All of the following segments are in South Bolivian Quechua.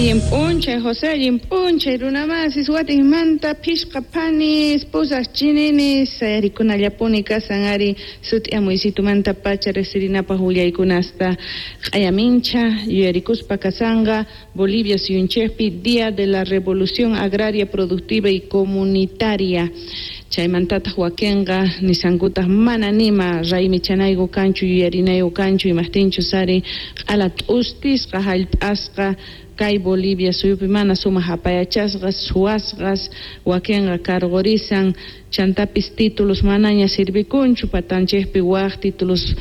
Allin p'unchay, José, allin p'unchay, runamasis, watejmanta phishqa phanis, pusaj chininis, sayarikunallapuni kasan ari sut'iyamuysitumanta-pacha rejsirinapaj willaykunasta q'ayamincha yuyarikuspa kasanqa Bolivia suyunchejpi Día de la Revolución Agraria Productiva y Comunitaria. Chaymantataj wakenqa nisankutaj mana nima raymichanayku kanchu, yuyarinayku kanchu, imajtinchus ari q'ala t'ustisqa jallp'asqa kay Bolivia suyupi mana sumaj apayachasqas, suwasqas, wakenqa cargorisan, chantapis títulos manaña sirvikunchu, patanchejpi waj títulos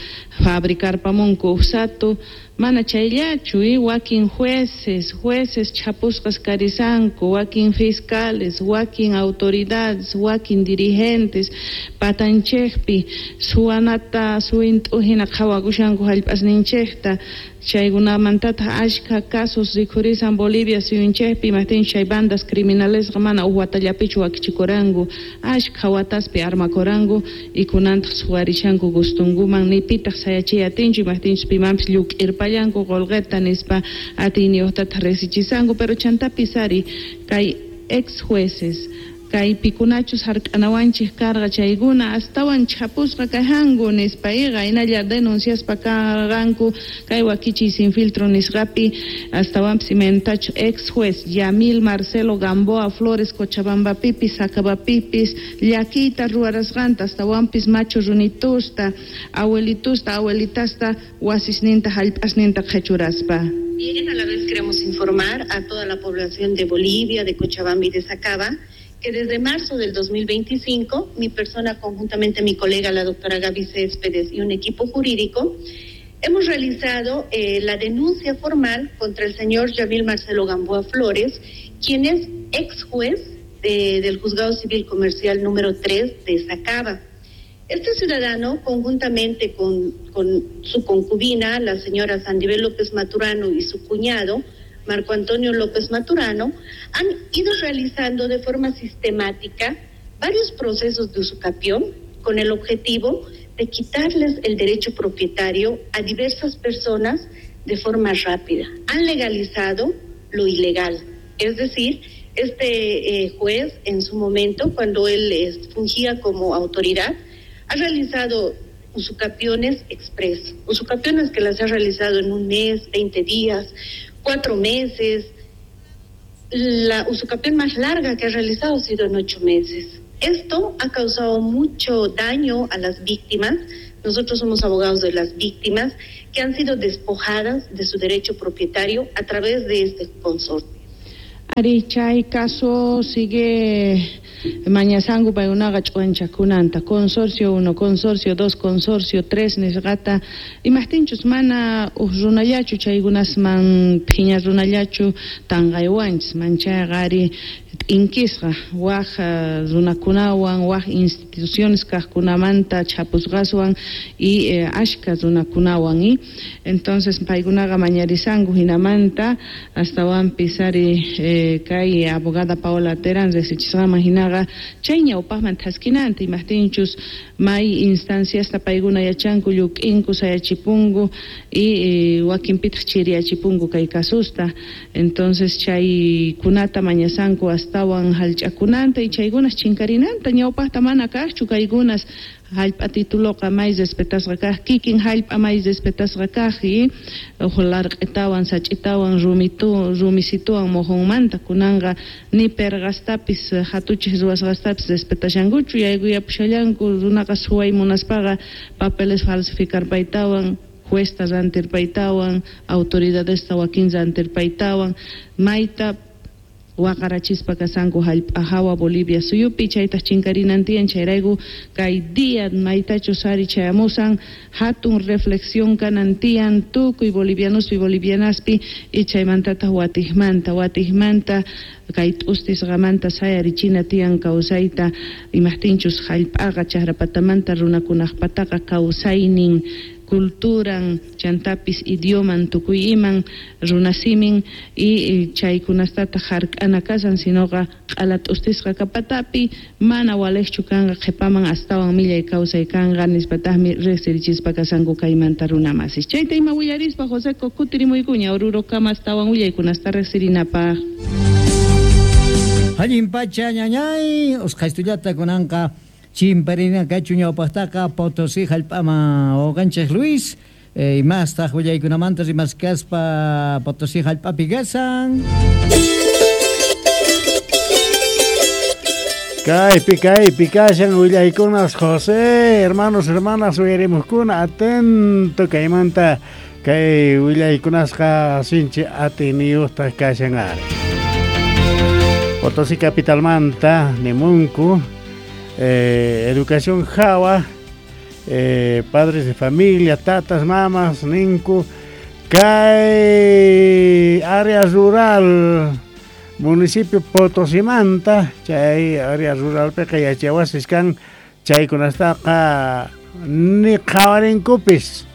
fabricarpamunku ujsatu, mana chayllachu, wakin jueces, jueces chhapusqas karisanku, wakin fiscales, wakin autoridades, wakin dirigentes, patanchejpi suwanata suwint'u hina qhawakushanku jallp'asninchejta, chaykunamantataj ashkha casos rikhurisan Bolivia suyunchejpi, imajtinchus chay bandas criminalesqa mana uj watallapichu wakichikuranku, ashkha wataspi armakuranku y kunantaj suwarishanku gustunkuman, ni pitaj sayachiy atinchu, imajtinchus pimanpis lluk'irpallanku qolqeta nispa atiyniyojtataj risichisanku, pero chantapis ari kay ex jueces kay pikunachus hark'anawanchej karqa chaykuna astawan chhapusqa kajanku nispa iqa hinalla denunciaspa karqanku kay wakichiy sin filtro nisqapi astawanpis imaynatachus ex juez Yamil Marcelo Gamboa Flores Cochabambapipis Sacabapipis llakiyta ruwarasqanta astawanpis machu runitusta abuelitusta abuelitasta wasisninta jallp'asninta qhechuraspa. Bien, a la vez queremos informar a toda la población de Bolivia, de Cochabamba y de Sacaba, que desde marzo del 2025, mi persona conjuntamente mi colega, la doctora Gaby Céspedes, y un equipo jurídico, hemos realizado la denuncia formal contra el señor Yamil Marcelo Gamboa Flores, quien es ex juez del Juzgado Civil Comercial número 3 de Sacaba. Este ciudadano, conjuntamente con su concubina, la señora Sandibel López Maturano, y su cuñado, Marco Antonio López Maturano, han ido realizando de forma sistemática varios procesos de usucapión con el objetivo de quitarles el derecho propietario a diversas personas de forma rápida. Han legalizado lo ilegal, es decir, este juez en su momento, cuando él fungía como autoridad, ha realizado usucapiones express, usucapiones que las ha realizado en un mes, 20 días, 4 meses. La usucapión más larga que ha realizado ha sido en 8 meses. Esto ha causado mucho daño a las víctimas. Nosotros somos abogados de las víctimas que han sido despojadas de su derecho propietario a través de este consorcio. Ari, chay caso sigue mañasanku paykunaqa ch'uwanchakunanta, consorcio 1, consorcio 2, consorcio 3 nisqata, imajtinchus mana uj runallachu chaykunasman phiña runallachu tanqaywanchis, manchayqa ari t'inkisqa waj runakunawan, waj instituciones kajkunamanta chhapusqaswan y ashka runakunawan, y entonces paykunaqa mañarisanku hinamanta astawanpis ari kay abogada Paola Terán riqsichisqaman hinaqa chay ñawpaqman thaskinanta, imajtinchus may instanciasta paykuna yachanku lluk'inku sayachipunku y wakinpitaq chiriyachipunku kay kasusta, entonces chaykunata mañasanku astawan hallch'akunanta y chaykunas chinkarinanta, ñawpaqta mana kaqchu kaykunas jallp'a tituloqa may respetasqa kaq, kikin jallp'a may respetasqa kaq y uj larq'itawan sach'itawan rumisituwan mojonmanta kunanqa ni perqastapis hatuchej ruwasqastapis respetashankuchu, yaykuyapushallanku runaqa suway munaspaqa papeles falsificarpaytawan, juezta rantirpaytawan, autoridadesta wakin rantirpaytawan, mayta waqarachispa kasanku jallp'a hawa Bolivia suyupi, chaytaj chinkarinan tiyan, chayrayku kay día maytachus ari chayamusan hatun reflexión kanan tiyan tukuy bolivianospi bolivianaspi y chaymantataq watijmanta watijmanta kay t'ustisqamanta sayarichina tiyan kawsayta, imajtinchus jallp'aqa chaqrapatamanta runakunaqpataqa kawsaynin. Culturan chantapis idioman tukuy iman runasimin y chaykunastata hark'ana kashan sinoqa q'ala t'ustisqa kapatapi mana waliqchu kanqa qhipaman astawan millay kawsay kanqa nispataqmi riqsirichispa kashanku kaymanta runamasis. Chayta ima willarispa Joseco kutirimuykuña Orurokama astawan willaykunasta riqsirinapaq. Allin pacha ñañay usqhaystullata kunanqa chimparina kachu ñawpaqtaqa Potosí hallp'aman wawqanchik Luis imastaq willaykunamanta rimaskaspa Potosí hallp'api kashan. Kaypi kaypi kashan willaykunas José, hermanos, hermanas, uyarimuqkuna atento kaymanta kay willaykunasqa sinchi atiniyuqtaq kashan ari. Potosí capitalmanta nimunku educación hawa padres de familia, tatas, mamas, ninku kay área rural municipio Potosimanta chay área ruralpiqa yachawasis kan chaykunastaqa ni qhawarinkupis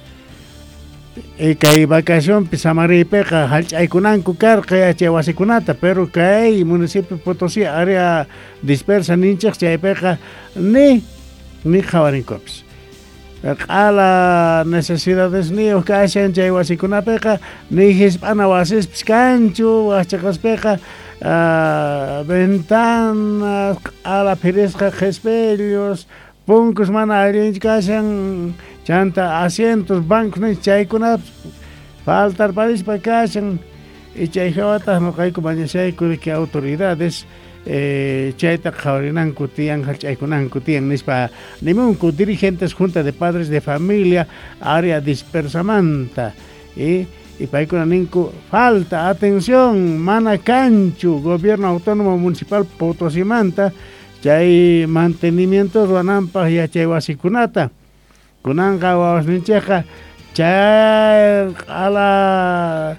kay vacacionpi samariypiqa hallch'aykunanku karqa yachawasikunata pero kay municipio Potosí área dispersa ninchik chaypiqa ni qhawarinkupis q'ala necesidadesniyuq kashan chay wasikunapiqa ni hisp'ana wasispis kanchu waqchaqaspiqa ventanas q'ala phirisqa qhispillos punkus mana allinchu kashan chanta asientos bancos ninchik chaykunapis faltarparispa kashan y chay hawataq nuqayku mañashayku que autoridades chayta qhawarinanku tiyan hallch'aykunanku tiyan nispa nimunku dirigentes junta de padres de familia área dispersamanta y paykuna ninku falta atención mana kanchu gobierno autónomo municipal Potosimanta chay mantenimiento ruwananpaq yachay wasikunata kunanqa wawasninchikqa chay q'ala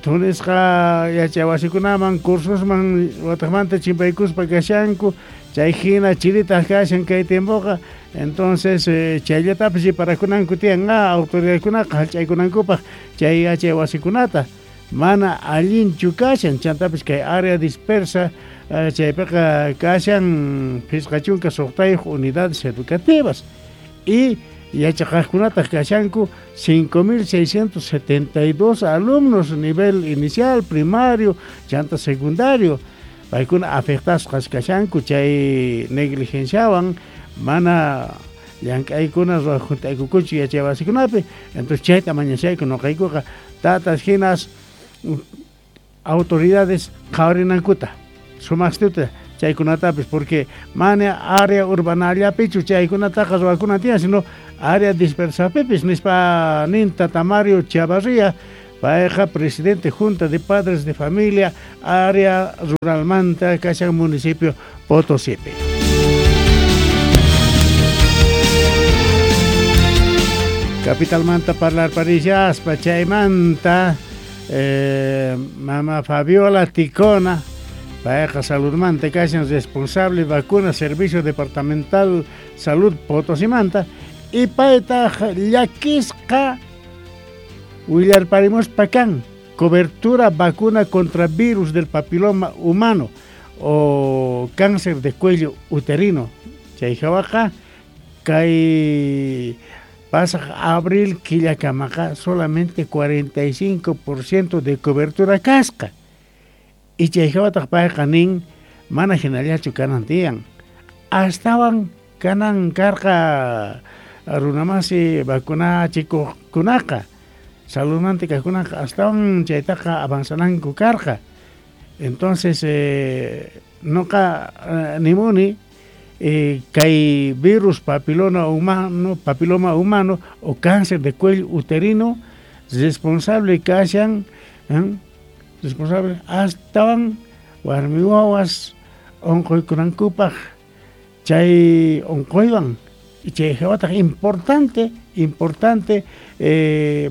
thunisqa yachay wasikunaman cursusman wataqmanta chimpaykuspa kashanku chay hina chiritaq kashan kay tiempoqa entonces chayllatapis riparakunanku tiyan autoridadkunaqa hallch'aykunankupaq chay yachay wasikunata mana allinchu kashan chantapis kay área dispersa chaypiqa kashan 56 unidades educativas y yachaqaqkunataq kashanku 5.672 alumnos nivel inicial, primario, chanta secundario paykuna afectasqas kashanku chay negligenciawan mana llank'aykuna ruwajunt'aykukuchu yachay wasikunapi entonces chayta mañashayku nuqaykuqa tatas hinas autoridades qhawarinankuta sumaqstuta chaykunatapis porque mana área urbanallapichu chaykunataqa ruwakuna tiyan sino área dispersapipis nispa nin Tata Mario Chavarría payqa presidente junta de padres de familia área ruralmanta kashan municipio Potosípi. Capitalmanta parlar parishaspa chaymanta mama Fabiola Ticona payqa saludmanta kashan responsable vacuna servicio departamental salud Potosimanta y paytaq llakisqa willarparimuspa kan cobertura vacuna contra virus del papiloma humano o cáncer de cuello uterino chay hawaqa kay pasaq abril killakamaqa solamente 45% de cobertura kasqa y chay hawataq payqa nin mana hinallachu kanan tiyan astawan kanan karqa runamasi vacunachikuqkunaqa saludmanta kaqkunaqa astawan chaytaqa avanzananku karqa entonces nuqa nimuni kay virus papiloma humano o cáncer de cuello uterino responsable kashan responsable astawan warmi wawas unquykunankupaq chay unquywan y chay hawataq importante Importante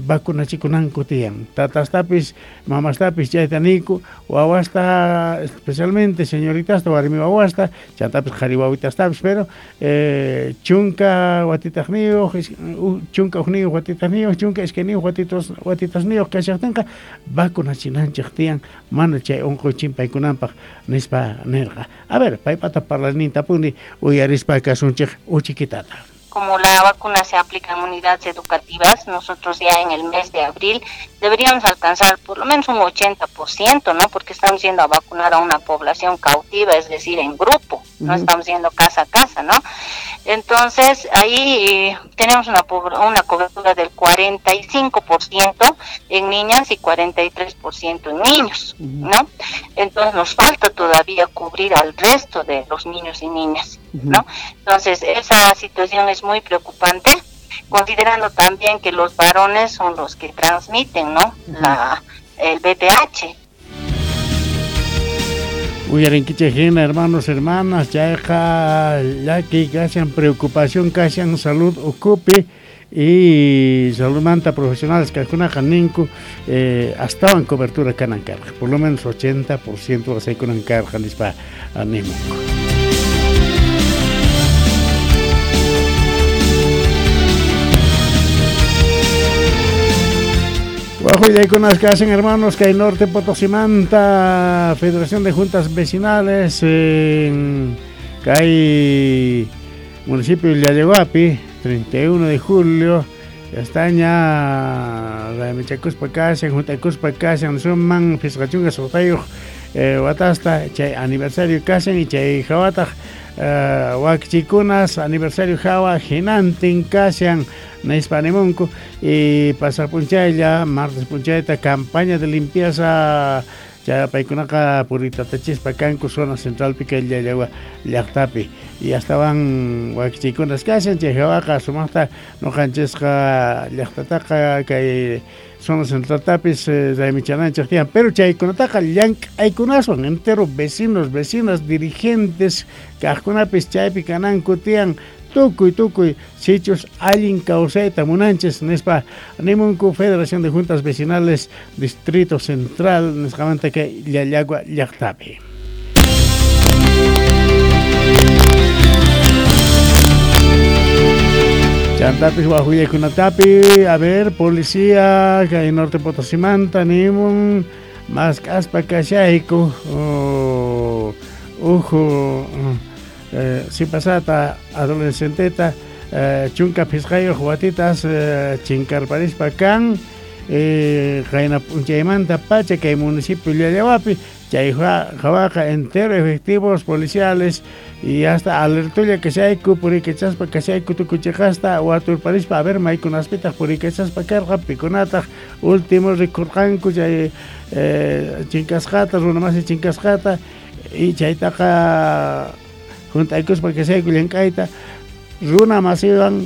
vacunachikunanku tiyan. Tatastapis, mamastapis chayta niyku, wawasta especialmente señoritasta, warmi wawasta, chantapis qhari wawitastapis, pero chunka watitajniyuq, chunka ujniyuq watitajniyuq, chunka iskayniyuq watitasniyuq kashaqtinqa vacunachinanchik tiyan mana chay unquy chimpaykunanpaq nispa nirqa. A ver, paypata parlanintapuni uyarispa kasunchik uchikitata. Como la vacuna se aplica en unidades educativas, nosotros ya en el mes de abril deberíamos alcanzar por lo menos un 80%, ¿no? Porque estamos yendo a vacunar a una población cautiva, es decir, en grupo, no estamos yendo casa a casa, ¿no? Entonces, ahí tenemos una cobertura del 45% en niñas y 43% en niños, ¿no? Entonces, nos falta todavía cubrir al resto de los niños y niñas, ¿no? Entonces, esa situación es muy preocupante, considerando también que los varones son los que transmiten, ¿no? El VPH. Uyarinkichejina, hermanos, hermanas, chayqa llaki kashan preocupación kashan salud ukupi y saludmanta profesionales kajkunaqa ninku astawan cobertura kanan karqa, por lo menos 80% wasaykunan karqa nispa nimunku. Wajuyaykunas kasen hermanos que hay Norte Potosimanta, Federación de Juntas Vecinales en kay municipio de Llallahuapi, 31 de julio, ya está ña Raymichakuspa kashan, Juntakuspa kashan, suman pisqachunka suqtayuq watasta chay aniversario kashan y chay hawataq wakchikunas aniversario hawa hinantin kashan nispa nimunku y pasar punchaylla martes punchayta campaña de limpieza paykunaqa puritatachispa kanku zona centralpi kay Llallagua llaqtapi y astawan wakchikunas kashan chay hawaqa sumaqta nuqanchisqa llaqtataqa kay zona centraltapis raymichananchik tiyan, pero chaykunataqa llank'aykunaswan entero vecinos, vecinas, dirigentes kaqkunapis chaypi kananku tiyan tukuy sichus allin kawsayta munanchis nispa nimunku Federación de Juntas Vecinales Distrito Central nisqamanta kay Llallagua llaqtapi. Chantapis wajuyaykunatapi, a ver, policía kay Norte Potosimanta nimun mask'aspa kashayku uju sipasata adolescenteta chunka phisqayuq watitas chinkarparispa kan qayna p'unchaymanta pacha kay municipio Llallahuapi chay hawaqa entero efectivos policiales y hasta alertulla kashayku purikachaspa kashayku tukuchiqasta waturparispa a ver maykunaspitaq purikachaspa karqa pikunataq último rikurqanku chay chinkasqata runamasi chinkasqata y chaytaqa juntaykuspa kashayku llank'ayta runa masiwan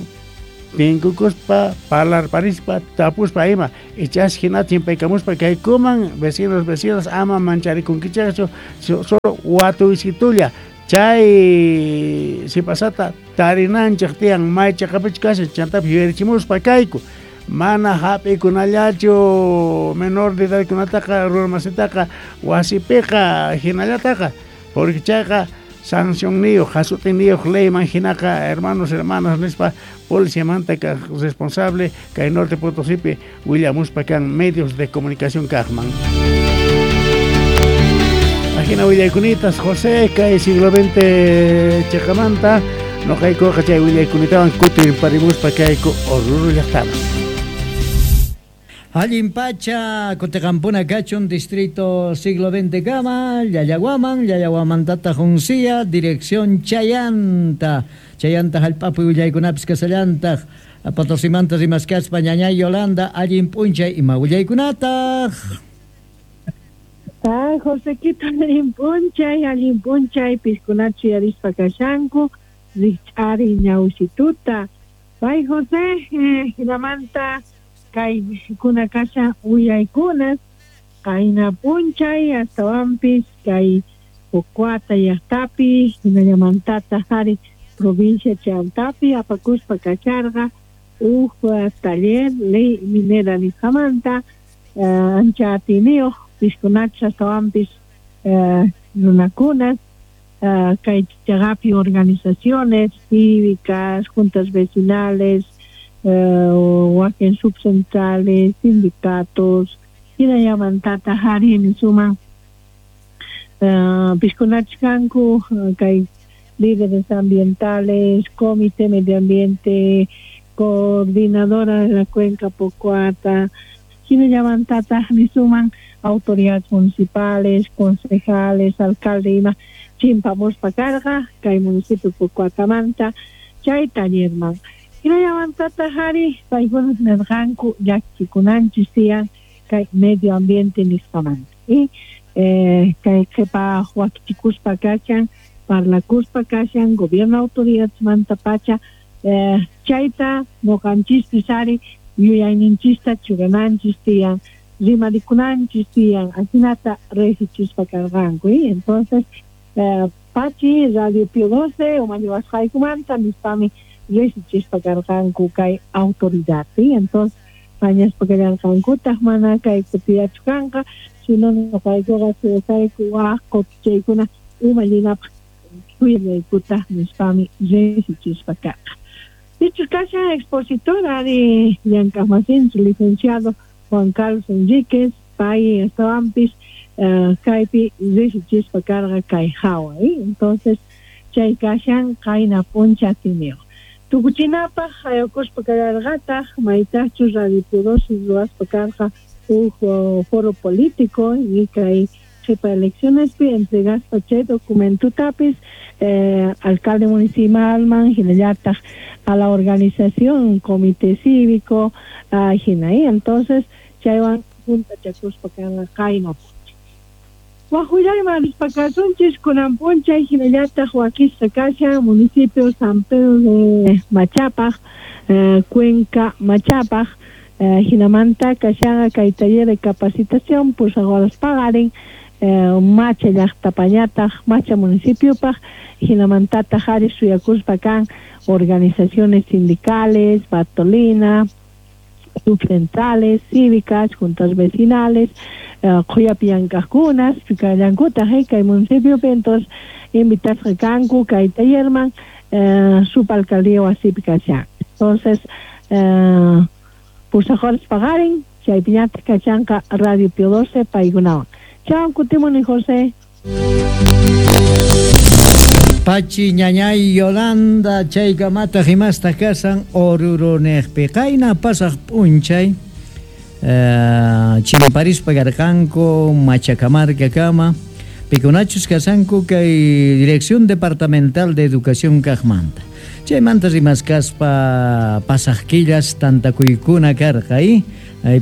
tinkukuspa parlarparispa tapuspa ima ichash hina chimpaykamuspa kaykuman vecinos vecinas ama mancharikunkichaqchu solo watuysitulla chay sipasata tarinanchik tiyan may chaqapichu kashan chantapis yuyarichimuspa kayku mana hap'ikunallachu menor de edadkunataqa runamasitaqa wasipiqa hinallataqa porque chayqa sancionniyuq hasutiniyuq leyman hinaqa hermanos hermanas nispa policiamanta kaq responsable kay Norte Potosipi willamuspa kan medios de comunicación kaqman. Ajina willaykunitas José kay siglo XX chiqamanta noqaykuqa chay willaykunatawan kutinparimuspa kayku Oruro llaqtaman. Allin pacha, Cotecampuna kachun, distrito siglo XX kama, Llallahuaman, Llallahuamantata Juncia, dirección Chayanta, Chayanta jallp'api willaykunapis kasallantaq, Potosimanta rimaskaspa ñañay Yolanda, allin p'unchay ima willaykunataq. Ay, Josequito, allin p'unchay, piskunachu yarispa kashanku, rikch'ari ñawsituta. Pay José, hinamanta kay kuna kasha willaykunas qayna p'unchay astawanpis kay Pocuata llaqtapi hinallamantata hari provincia Chantapi apakuspa kacharqa Uj taller ley minera nisqamanta ancha atiyniyuq piskunachus astawanpis runakunas kay chaqapi organizaciones cívicas, juntas vecinales, wakin subcentrales, sindicatos, hinallamantataq ari nisuman piskunachus kanku kay líderes ambientales, comité medio ambiente, coordinadora de la cuenca Pocoata, hinallamantataq nisuman autoridades municipales, concejales, alcalde ima chimpamuspa karqa kay municipio Pocoatamanta chay tallerman. Hinallamantataq ari paykuna nirqanku llakikunanchis tiyan kay medio ambiente nisqamanta. Y kay qhipa wakichikuspa kashan, parlakuspa kashan, gobierno autoridadesmanta pacha chayta ñuqanchispis ari yuyayninchista churananchis tiyan, rimarikunanchis tiyan, ajinata riqsichispa karqanku. Entonces pachi Radio Pío 12 umalliwasqaykumanta nispami riqsichispa karqanku kay autoridad. Entonces mañaspa kallarqankutaq mana kay kutillachu kanqa, sino ñuqaykuqa suyasayku waq kutichaykuna umallinapaq suyallaykutaq nispami riqsichispa karqa. Dicho kashan expositor ari llank'aqmasinchik licenciado Juan Carlos Enríquez, pay astawanpis kaypi riqsichispa karqa kay hawa. Entonces chay kashan qayna p'uncha atiniyuq. Tukuchinapaq hayukuspa kallarqataq maytaqchus Radio Pío 12 ruwaspa karqa uj foro político y kay qhipa eleccionespi entregaspa chay documentotapis alcalde municipalman hinallataq a la organización comité cívico hina. Entonces chaywan juntachakuspa kanqa qayna p'unchay. Wajullayman rispa kasunchis kunan p'unchay hinallataq wakisqa kashan municipio San Pedro de Machapaj, Cuenca Machapaj, hinamanta kashanqa kay taller de capacitación pusaq horas paqarin Macha llaqtapañataq Macha municipiopaq hinamantataq ari suyakuspa kan organizaciones sindicales, Bartolina, subcentrales, cívicas, juntas vecinales, qhuyapi llank'aqkunas kallankutaq kay municipiopi. Entonces invitasqa kanku kay tallerman subalcaldía wasipi kashan. Entonces pusaq horas paqarin chaypiñataq kashanqa Radio Pío 12 paykunawan. Chao, kutimuni José. Pachi ñañay Yolanda chaykamataq imastaq kasan Oruro niqpi qayna pasaq p'unchay chimparispa karqanku Machacamarcakama pikunachus kasanku kay Dirección Departamental de Educación kaqmanta. Chaymanta rimaskaspa pasaq killas tantakuykuna karqa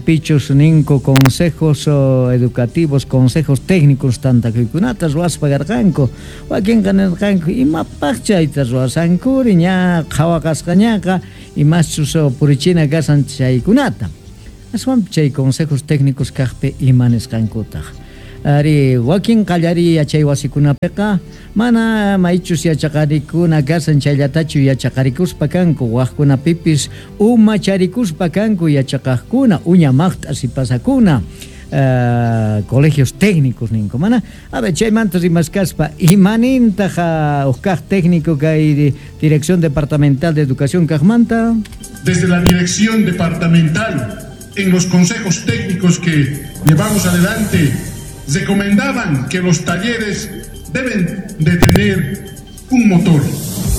pichus ninku consejos educativos, consejos técnicos tantakuykunata ruwaspa karqanku. Wakinqa nirqanku imapaq chayta ruwasankuri ña qhawaqasqañaqa imaschus purichina kasan chaykunata. Aswanpi chay consejos técnicos kaqpi ima nisqankutaq. Ari wakin qallariy yachay wasikunapiqa mana maychus yachaqarikuna kasan chayllatachu yachaqarikuspa kanku, waqkunapipis umacharikuspa kanku yachaqaqkuna, uña maqt'a sipasakuna, colegios técnicos ninku mana. A ver, chaymanta rimaskaspa imanintaq uj kaq técnico kay Dirección Departamental de Educación kaqmanta? Desde la Dirección Departamental, en los consejos técnicos que llevamos adelante, recomendaban que los talleres deben de tener un motor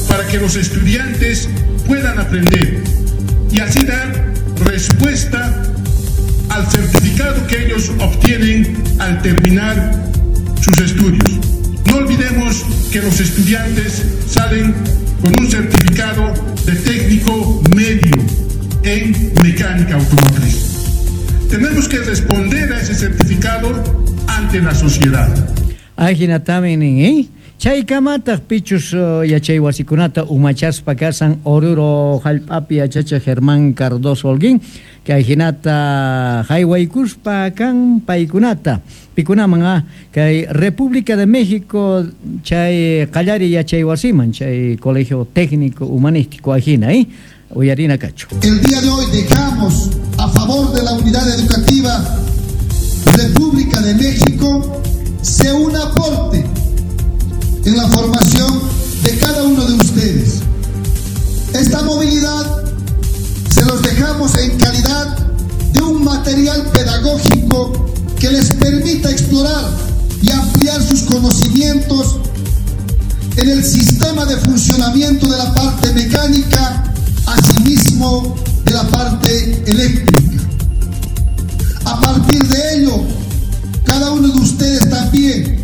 para que los estudiantes puedan aprender y así dar respuesta al certificado que ellos obtienen al terminar sus estudios. No olvidemos que los estudiantes salen con un certificado de técnico medio en mecánica automotriz. Tenemos que responder a ese certificado ante la sociedad. Ajinatami nin, Chaykamataq pichus yachay wasikunata umachaspa kasan Oruro hallp'api yachachiq Germán Cardoso Holguín, kay hinata haywaykuspa kan paykunata pikunaman kay República de México chay qallari yachay wasiman chay Colegio Técnico Humanístico ajina. Uyarina kachu. El día de hoy dejamos a favor de la unidad educativa República de México sea un aporte en la formación de cada uno de ustedes. Esta movilidad se los dejamos en calidad de un material pedagógico que les permita explorar y ampliar sus conocimientos en el sistema de funcionamiento de la parte mecánica, asimismo de la parte eléctrica. A partir de ello, cada uno de ustedes también